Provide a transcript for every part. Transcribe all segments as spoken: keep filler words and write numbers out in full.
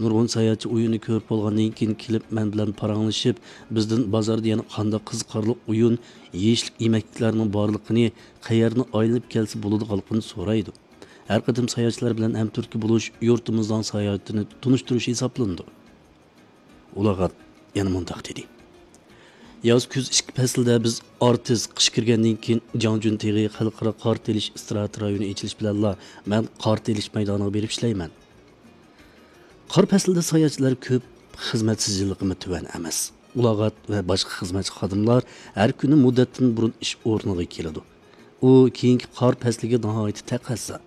نۇرغۇن ساياھەتچى ئويۇننى كۆرۈپ بولغاندىن كېيىن كېلىپ مەن بىلەن پاراڭلىشىپ، بىزدىن بازاردا يەنە قانداق قىزىقارلىق ئويۇن، يېيىشلىك يېمەكلىكلەرنىڭ بارلىقىنى، قەيەرنى ئايلىنىپ كەلسە بولىدىغانلىقىنى سورايدۇ. ھەر قېتىم ساياھەتچىلەر بىلەن ھەمتۈرتكە بولۇش يۇرتىمىزنىڭ ساياھىتىنى تونۇشتۇرۇش ھېسابلىنىدۇ. ئۇلاغات يەنە مۇنداق دېدى. ياز، كۈز ئىككى پەسىلدە بىز ئارتىس، قىش كىرگەندىن كېيىن جاڭجۈن تېغى خەلقئارا قار تېلىش ئىستراتېگىيە رايونى ئېچىلىش بىلەنلا مەن قار تېلىش مەيدانىغا بېرىپ ئىشلەيمەن. قار پەسلىدە ساياھەتچىلەر كۆپ، خىزمەت سىجىللىقىمۇ تۆۋەن ئەمەس. ئۇلاغات ۋە باشقا خىزمەتچى خادىملار ھەر كۈنى مۇددەتتىن بۇرۇن ئىش ئورنىغا كېلىدۇ. ئۇ كېيىنكى قار پەسلىگە ناھايىتى تەقەززا.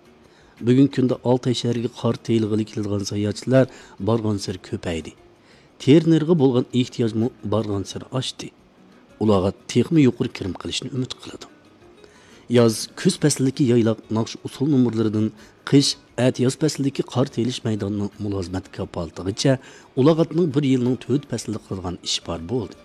بۈگۈنكى كۈندە ئالتاي شەھىرىگە قار تېيىلغىلى كېلىدىغان ساياھەتچىلەر بارغانسېرى كۆپەيدى. تېرىنېرغا بولغان ئېھتىياجمۇ بارغانسېرى ئاشتى. ئۇلاغات تېخىمۇ يۇقىرى كىرىم قىلىشنى ئۈمىد قىلىدۇ. ياز، كۈز پەسلىدىكى يايلاق ناخشا ئۇسسۇل نومۇرلىرىدىن قىش، ئەتىياز پەسلىدىكى قار تېيىلىش مەيدانىنىڭ مۇلازىمەت كاپالىتىغىچە ئۇلاغاتنىڭ بىر يىلنىڭ تۆت پەسلىدە قىلىدىغان ئىشى بار بولدى.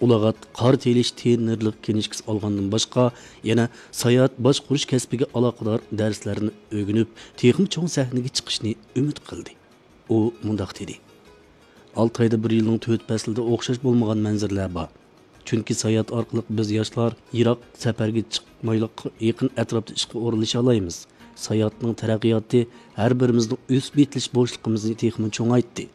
ئۇلاغات قار تېيىلىش تېرىنېرلىق كىنىشكىسى ئالغاندىن باشقا، يەنە ساياھەت باشقۇرۇش كەسپىگە ئالاقىدار دەرسلەرنى ئۆگىنىپ، تېخىمۇ چوڭ سەھنىگە چىقىشنى ئۈمىد قىلدى. ئۇ مۇنداق دېدى: ئالتايدا بىر يىلنىڭ تۆت پەسلىدە ئوخشاش بولمىغان مەنزىرىلەر بار. چۈنكى ساياھەت ئارقىلىق بىز ياشلار يىراق سەپەرگە چىقمايلا يېقىن ئەتراپتا ئىشقا ئورۇنلىشالايمىز. ساياھەتنىڭ تەرەققىياتى ھەر بىرىمىزنىڭ ئۆسۈپ يېتىلىش بوشلۇقىمىزنى تېخىمۇ چوڭايتتى.